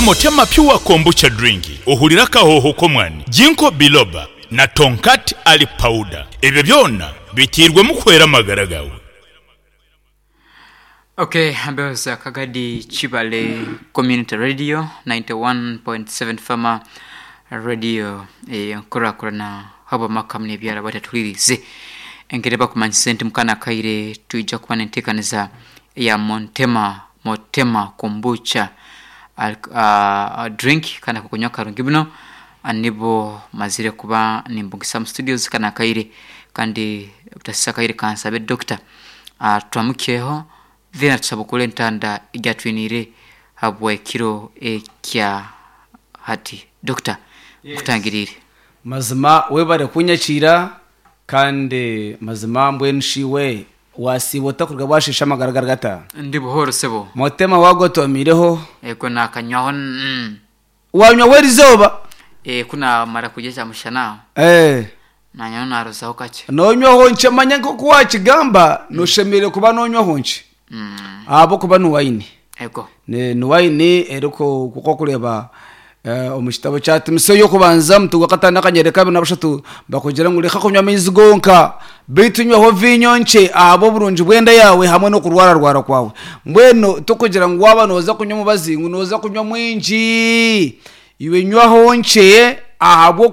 Motema Pure Kombucha Drink ohurire akahooho k'omwani, Ginkgo Biloba na Tongkat Ali Powder. Ebyo byona biteirwemu kuhwera amagara gaawe. Ok Mbeho Kagadi Kibale Community Radio 91.7 Farmer Radio enkurakurana habw'amaka hamwe n'ebyaro abatatuhuririize. Engeri bakumanyisa nti mukana akaire twija kuba n'enteekaniza eya Montema Motema Kombucha drink kandi akokunywa karungi muno nibo mazire kuba nimbugisa omu studios kanu akaire kandi obutasisa akaire kansabe Dokita atwamukyeho then atusabukure entanda egi atwiniire habw'ekiro ekya hati. Dokita nkutangiriire. Mazima webare kunyakiira kandi mazima mbwenu shi iwe Wasiiba ota kuruga bwasheesha amagara gari gata? Ndi buhooro sebo. Motema wagotomiireho? Ego naakanywaho mm. Wanywaho erizooba? Ee, ku naamara kurya kyamushana aho. Ee. Naanywaho naarozaho kakye. Noonywaho nkye manya nk'oku waakigamba nooshemereire kuba noonywaho nkye ahabw'okuba ni waini. Ego. Ni waini erikureeba Omu kitabo kya Timotseo ey'okubanza omutwe gwa kataano akanyariri kabiri na bushatu bakugira ngu reka kunywa amaizi gonka beitu nywaho viinyo nkye ahabw'oburungi bw'enda yaawe hamwe n'okurwararwara kwawe. Mbwenu tikugira ngu waaba nooza kunywa omubazi ngu nooza kunywa mwingi, iwe nywaho nkye ahabw'okuba.